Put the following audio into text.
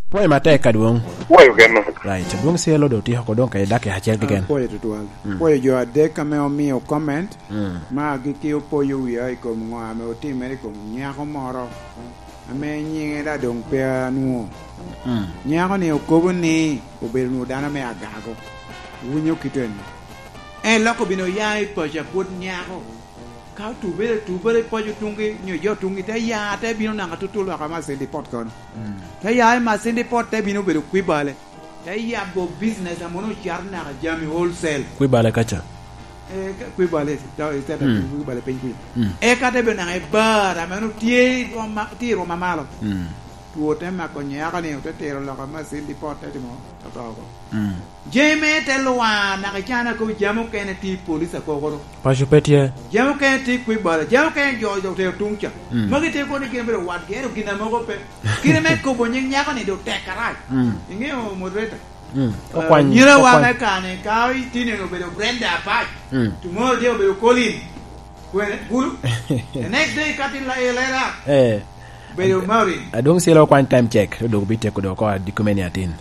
Pwoyo matek adwong. Pwoyo kene. Right, adwong celo dong otyeko ko dong kede dakika acel keken. Apwoyo tutwal. Apwoyo jo adek ame omiyo comment ma agikki opoyo wiya i kom ngo ame otimere i kom nyako moro ame nyinge da dong pe anwo. Nyako ni okobo ni obedo nwo dano me agago. Winyo kite ni. En lok obino ya i paco apwod nyako. Ka otubere otubere i paco tungi nyo i jo tungi te ya te bino naka tutu loka ma Cindy pot kono. Te ya i ma Cindy pot te bino bedo kwibale. Te yabo business a mono ocato naka jami wholesale. Kwibale kaca. Eh, kwibale kwibale piny kuca. Eka te bino naka i bar a meno tye i rwom ma tye i rwom ma malo. Two te mako nyako ni ote tiro loka ma Cindy pot te timo oto oko. Jami me te lwar naka icana ko jami okene tye i police akokoro. Paco pe tye. Jami okene tye i kwibala, jami okene jo otero tung ca. Magi tye kono ni gin obedo wat gi ento gin amogo pe. Kite me kobo nying nyako ni dong tek karac. Ingeyo moderator? Nyira wa me kare ni ka tye ni obedo Brenda Apac, tomorrow tye obedo Colin kwene Gulu, the next day ka tye lela obedo Maureen. Adwong celo okwany time check to dong bityeko dong oko adiko me ni atin.